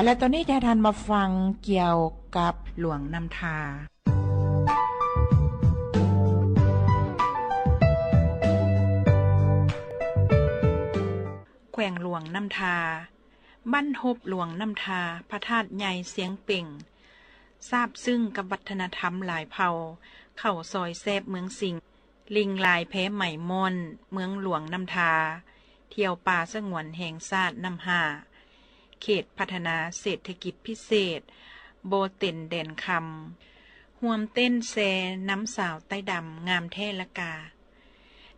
ແລະຕອນນີ້ຈະໃຫ້ທ່ານມາຟັງກ່ຽວກັບຫຼວງນ້ຳທາ. ແຂວງຫຼວງນ້ຳທາ, ບ້ານຮົບຫຼວງນ້ຳທາ, ພະທາດໃຫຍ່ຊຽງເປັງ, ຊາບຊຶ້ງກັບວັດທະນະທຳຫຼາຍເຜົ່າ, ເຂົ້າຊອຍແຊບເມືອງສິງ, ລິງລາຍແພໄໝມ່ອນເມືອງຫຼວງນ້ຳທາ, ທ່ຽວປ່າສະຫງວນແຫ່ງຊາດນ້ຳຫ້າ, ເຂດພັດທະນາເສດຖະກິດພິເສດບໍ່ເຕັນແດນຄຳ, ຮ່ວມເຕັ້ນແຊນຳສາວໃຕ້ດຳງາມແທ້ລະກາ.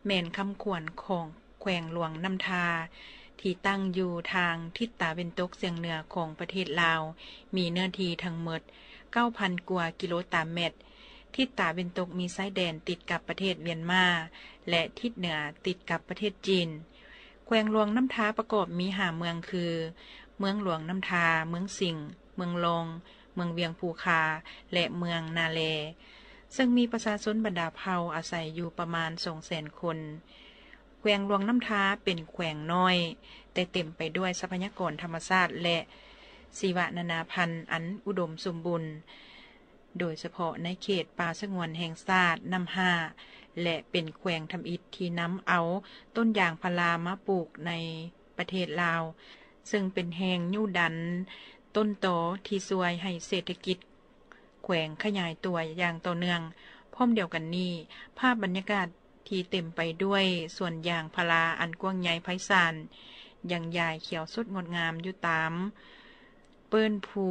ແມ່ນຄຳຂວັນຂອງແຂວງຫຼວງນ້ຳທາ ທີ່ຕັ້ງຢູ່ທາງທິດຕາເວັນຕົກສຽງເໜືອຂອງປະເທດລາວ, ມີເນື້ອທີ່ທັງໝົດເກົ້າພັນກວ່າກິໂລຕາແມັດ, ທິດຕາເວັນຕົກມີຊາຍແດນຕິດກັບປະເທດຫວຽນມາ ແລະ ທິດເໜືອຕິດກັບປະເທດຈີນ. ແຂວງຫຼວງນ້ຳທາປະກອບມີຫ້າເມືອງຄື ເມືອງຫຼວງນ້ຳທາ, ເມືອງສິງ, ເມືອງລອງ, ເມືອງວຽງພູຄາ ແລະ ເມືອງນາແລ, ເຊິ່ງມີປະຊາຊົນບັນດາເຜົ່າອາໄສຢູ່ປະມານສອງແສນຄົນ. ແຂວງຫຼວງນ້ຳທາເປັນແຂວງນ້ອຍ, ແຕ່ເຕັມໄປດ້ວຍຊັບພະຍາກອນທຳມະຊາດ ແລະ ຊີວະນານາພັນອັນອຸດົມສົມບູນ, ໂດຍສະເພາະໃນເຂດປ່າສະຫງວນແຫ່ງຊາດນ້ຳຫ້າ ແລະ ເປັນແຂວງທຳອິດທີ່ນຳເອົາຕົ້ນຢາງພາລາມາປູກໃນປະເທດລາວ, ເຊິ່ງເປັນແຮງຍູ້ດັນຕົ້ນຕໍທີ່ຊ່ວຍໃຫ້ເສດຖະກິດແຂວງຂະຫຍາຍຕົວຢ່າງຕໍ່ເນື່ອງ. ພ້ອມດຽວກັນນີ້, ພາບບັນຍາກາດທີ່ເຕັມໄປດ້ວຍສວນຢາງພາລາອັນກວ້າງໃຫຍ່ໄພສານ ຍັງຢາຍຂຽວສົດງົດງາມຢູ່ຕາມເປີ້ນພູ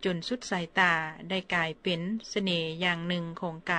ຈົນສຸດສາຍຕາ, ໄດ້ກາຍເປັນສະເໜ່ຢ່າງໜຶ່ງຂອງການ